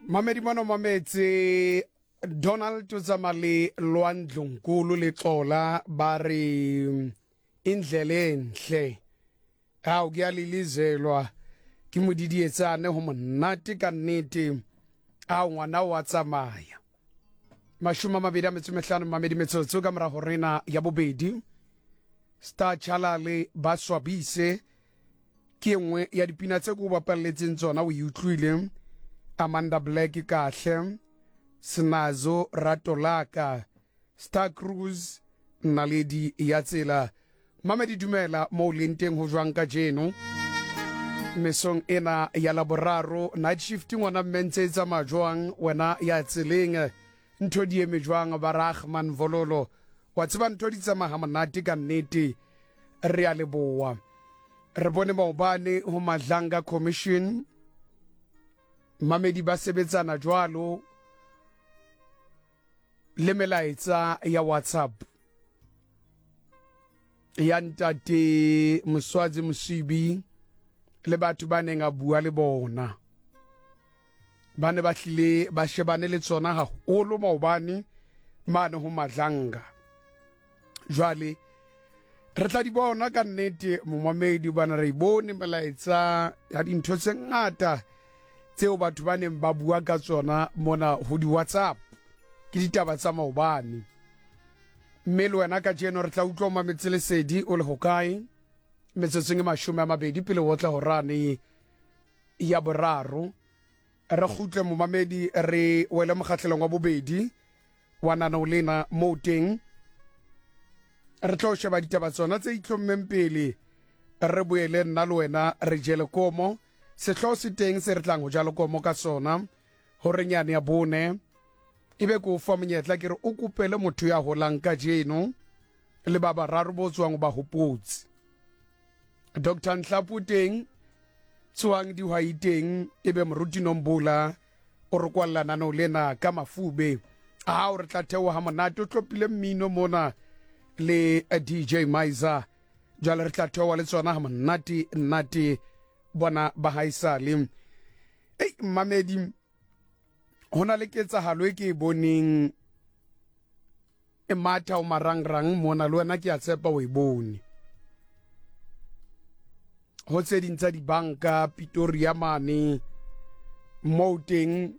Mamedi mona o mametse Donald o tsamaya le Lwandlonkulu le Xola ba re indlela enhle. Ao ke a lilizelwa ke modidietsane ho monate ka nnete. Ao ngwana o a tsamaya. 25 mamedi metsotso ka morago rena ya bobedi. Star Chalale ba swabise ke e nngwe ya dipina tse ke o bapalletseng tsona o e utlwile. Amanda Black kahle, Snazo rato laka, Star Cruise naledi ya tsela. Mamedi dumela mo o leng teng ho jwang kajeno mesong ena ya Laboraro. Night shift ngwana mme ntse e tsamaya jwang wena ya tseleng? Ntho di eme jwang ba Rahman Vololo? Wa tseba ntho di tsamaya ha monate ka nnete. Re a leboa. Re bone maobane ho Madlanga Commission mamedi ba sebetsana jwalo le melaetsa ya WhatsApp ya ntate Moswazi Mosibi le batho ba neng a bua le bona. Ba ne ba hlile ba shebane le tsona haholo maobane mane ho Madlanga. Jwale re tla di bona ka nnete momamedi, bana re bone melaetsa ya dintho tse ngata tseo batho ba neng ba bua ka tsona mona ho di-WhatsApp. Ke ditaba tsa maobane. Mme le wena kajeno re tla utlwa o mametse lesedi o le hokae metsotsong e 20 pele o tla horane ya boraro. Re kgutle momamedi re wele mokgahlelong wa bobedi wa nanao lena moo teng re tlo sheba ditaba tsona tse itlhommeng pele, re boele nna le wena re jele komo. Sehloho se teng se re tlang ho ja lekomo ka sona horeng yane ya bone. E be ke o fa monyetla ke re o kopele motho ya holang kajeno le ba bararo bo tswang o ba hopotse. Dr Nhlapo teng, tsoang dihwai teng, e be Moruti Nombola o re kwalla naneo lena ka mafube. Ao re tla theoha monate o tlopile mmino mona le DJ Maiza. Jwale re tla theoha le tsona ha monate nnate bona ba haesale. Ei mmamedi, ho na le ketsahalo e ke e boneng e matha o marangrang mona, le wena ke a tshepa o e bone. Ho tse ding tsa dibanka Pretoria mane moo teng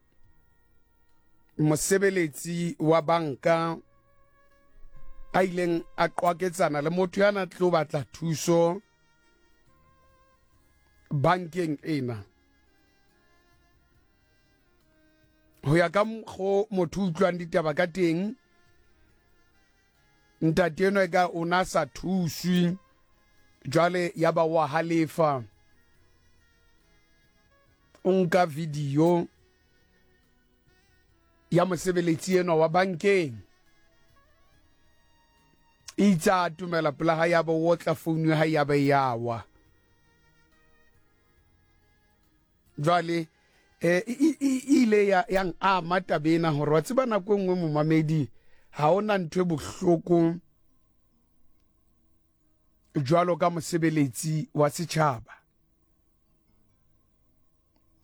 mosebeletsi wa banka a ileng a qwaketsana le motho ya na tlo batla thuso bankeng ena. Ho ya ka mokgo motho utlwang ditaba ka teng, ntate enwa e ka o na sa thuswe, jwale ya ba wa halefa, o nka video ya mosebeletsi enwa wa bankeng, itse a atomela pela ha ya ba o otla founu ya hae ya ba ya wa. Jwale eh e ile ya yang ama taba ena hore wa tseba nako e nngwe momamedi ha ona ntho e bohloko jwalo ka mosebeletsi wa setjhaba.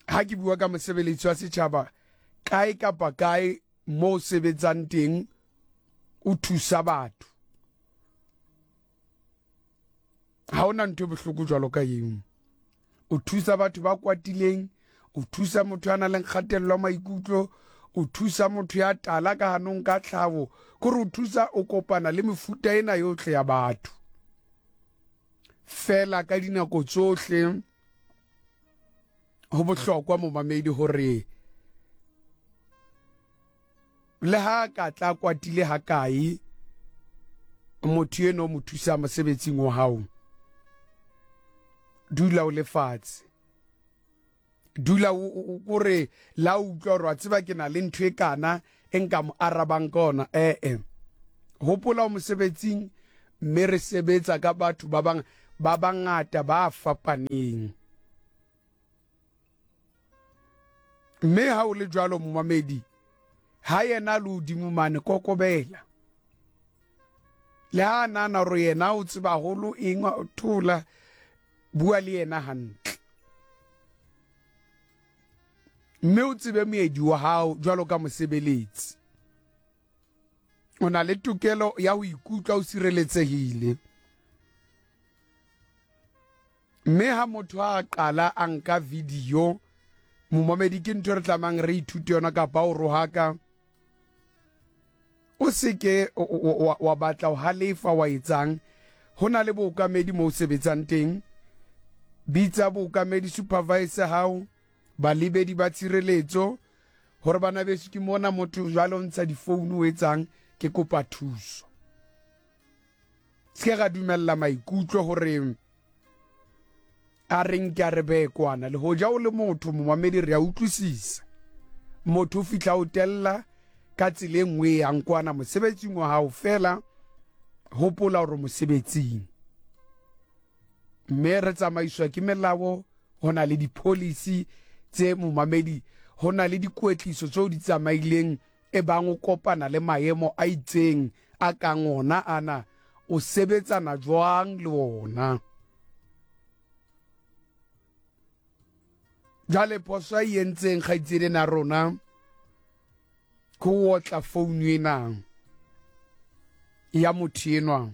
Ha ke bua ka mosebeletsi wa setjhaba, kae kapa kae mo o sebetsang teng o thusa batho, ha ona ntho e bohloko jwalo ka eo. O thusa batho ba kwatileng, o thusa motho ya nang le kgatello ya maikutlo, o thusa motho ya tala ka hanong ka tlhaho, kore o thusa, o kopana le mefuta ena yohle ya batho. Fela ka dinako tsohle ho bohlokwa momamedi hore le ha ka tla kwatile ha kae motho eno o mo thusa mosebetsing wa hao, dula o le fatshe, dula o kore la utlwa gore wa tseba ke na le ntho e kana e nka mo arabang ka ona. Ee, hopola o mosebetsing mme re sebetsa ka batho ba bang ba bangata ba fapaneng. Mme ha o le jwalo momamedi, ha yena le hodimo mane kokobela. Le ha a nahana hore yena o tseba haholo eng, thola, bua le yena hantle. Mme o tsebe moedi wa hao jwalo ka mosebeletsi. O na le tokelo ya ho ikutlwa o sireletsehile. Mme ha motho a qala a nka video, momamedi ke ntho e re tlamang re ithute yona kapa o rohaka, o se ke wa batla ho halefa wa etsang. Ho na le bookamedi mo o sebetsang teng. Bitsa bookamedi supervisor hao, balebedi ba tshireletso, hore bana beso ke mona motho jwale o ntsha difounu o etsang, ke kopa thuso. Se ke ra dumella maikutlo hore a re nke a re beye kwana. Le hoja o le motho momamedi, re a utlwisisa. Motho o fihla o tella ka tsela e nngwe e yang kwana mosebetsing wa hao, fela hopola hore mosebetsing mme re tsamaiswa ke melao. Ho na le di-policy tse momamedi, ho na le dikwetliso tseo di tsamaileng e bang o kopana le maemo a itseng a kang ona ana, o sebetsana jwang le ona. Jwale phoso a e entseng kgaitsedi ena rona ke ho otla founu ena ya motho enwa.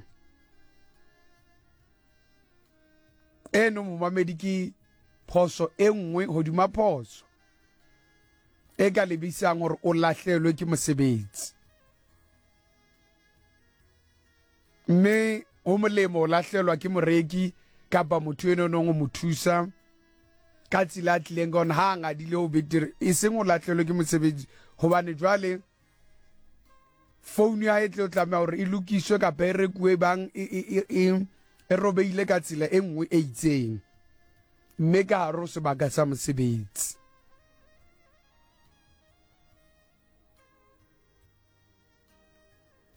Eno momamedi ke phoso e nngwe hodima phoso e ka lebisang hore o lahlelwe ke mosebetsi. Mme ho molemo o lahlelwa ke moreki kapa motho eno nong o mo thusa ka tsela a tlileng ka ona ha a ngadile ho betere, e seng o lahlelwe ke mosebetsi, hobane jwale founu ya hae e tlo tlameha hore e lokiswe kapa e rekuwe bang e robeile ka tsela e nngwe e itseng, mme ka hare ho sebaka sa mosebetsi.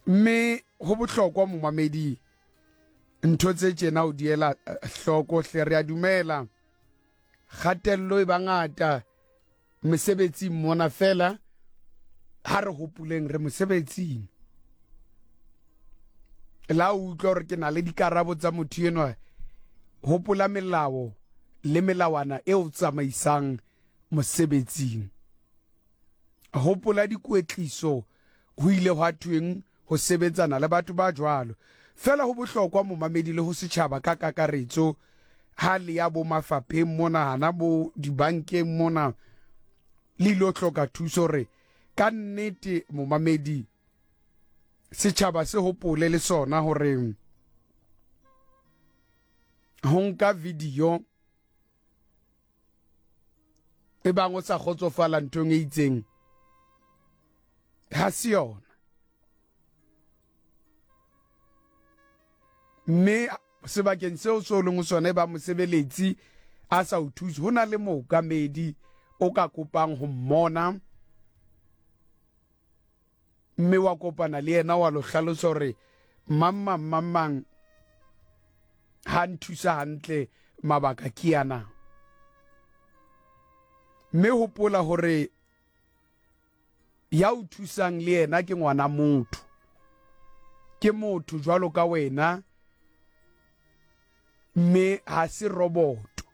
Mme ho bohlokwa momamedi ntho tse tjena o diela hloko hle. Re a dumela kgatello e bangata mesebetsing mona, fela ha re hopoleng re mosebetsing. La o utlwa hore ke na le dikarabo tsa motho enwa, hopola melao le melawana e o tsamaisang mosebetsing. Hopola dikwetliso ho ile hwa thweng ho sebetsana le batho ba jwalo. Fela ho bohlokwa momamedi le ho setjhaba ka kakaretso ha le ya bo mafapheng mona, hana bo dibankeng mona, le ilo hloka thuso hore ka nnete momamedi setjhaba se hopole le sona hore ho nka video e bang o sa kgotsofala nthong e itseng ha se yona. Mme sebakeng seo se o leng ho sona e ba mosebeletsi a sa o thuse, ho na le mookamedi o ka kopang ho mmona, mme wa kopana le yena wa lo hlalosa hore mang mang mang mang ha nthusa hantle, mabaka ke ana. Mme hopola hore ya o thusang le yena ke ngwana motho, ke motho jwalo ka wena, mme ha se roboto.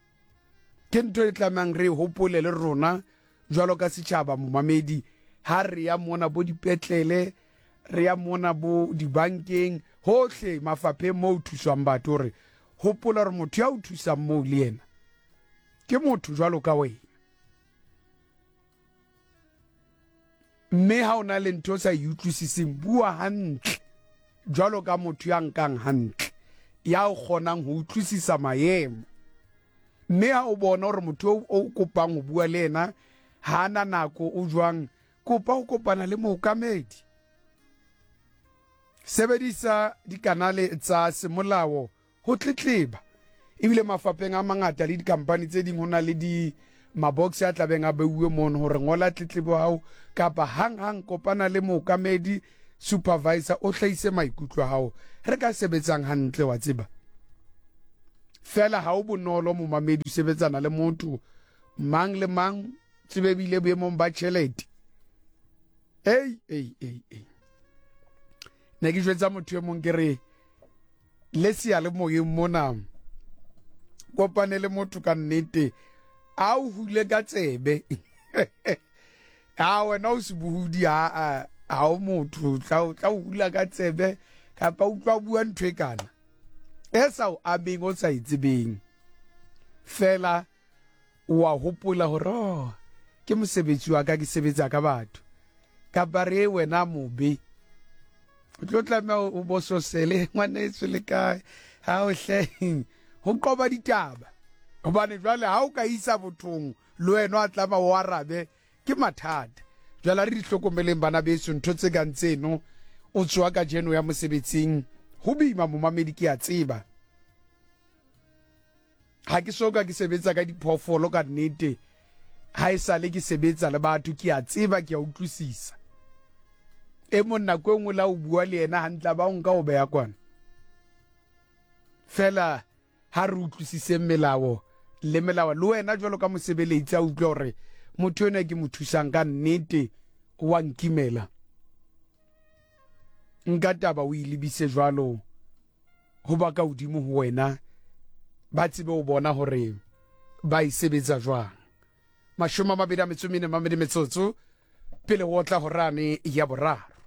Ke ntho e tlamehang re e hopole le rona jwalo ka setjhaba momamedi, ha re ya mona bo dipetlele, re ya mona bo dibankeng, hohle mafapheng moo ho thuswang batho, hore hopola hore motho ya o thusang moo le yena ke motho jwalo ka wena. Mme ha o na le ntho o sa e utlwisiseng, bua hantle jwalo ka motho ya nkang hantle, ya o kgonang ho utlwisisa maemo. Mme ha o bona hore motho o kopang ho bua le yena ha a na nako, o jwang, kopa ho kopana le mookamedi. Sebedisa dikanale tsa semolao ho tletleba. Ebile mafapheng a mangata le dikampani tse ding ho na le di mabox a tlabeng a beuwe mono hore ngola tletlebo hao, kapa hang-hang kopana le mookamedi, supervisor, o hlahise maikutlo a hao. Re ka sebetsang hantle, wa tseba. Fela ha o bonolo momamedi o sebetsana le motho mang le mang, tsebe bile boemong ba tjhelete. Ei, ei, ei, ei. Ne ke jwetsa motho e mong ke re, le seyalemoyeng mona kopane le motho ka nnete a o hule ka tsebe. A wena o sebohodi, a a o motho tla tla o hula ka tsebe kapa utlwa bua ntho e kana e sa o ameng, o sa e tsebeng fela. O a hopola hore, oh, ke mosebetsi wa ka, ke sebetsa ka batho. Kapa re wena mobe, o tlo tlameha o bososele, ngwaneso le kae, ha o hle, ho qoba ditaba. Hobane jwale ha o ka isa bothong, le wena wa tlama o arabe, ke mathata. Jwale a re di hlokomeleng bana beso, ntho tse kang tseno. O tsoha kajeno ya mosebetsing, ho boima momamedi, ke a tseba. Ha ke soka ke sebetsa ka diphoofolo ka nnete, ha e sale ke sebetsa le batho, ke a tseba, ke a utlwisisa. E mong nako e nngwe la o bua le yena hantle, ba o nka o beya kwana. Fela ha re utlwisiseng melao le melao, le wena jwalo ka mosebeletsi a utlwa hore motho enwa ke mo thusang ka nnete wa nkimela. Nka taba o e lebise jwalo ho ba ka hodimo ho wena, ba tsebe ho bona hore ba e sebetsa jwang. 24 metsotso pele ho otla horane ya boraro.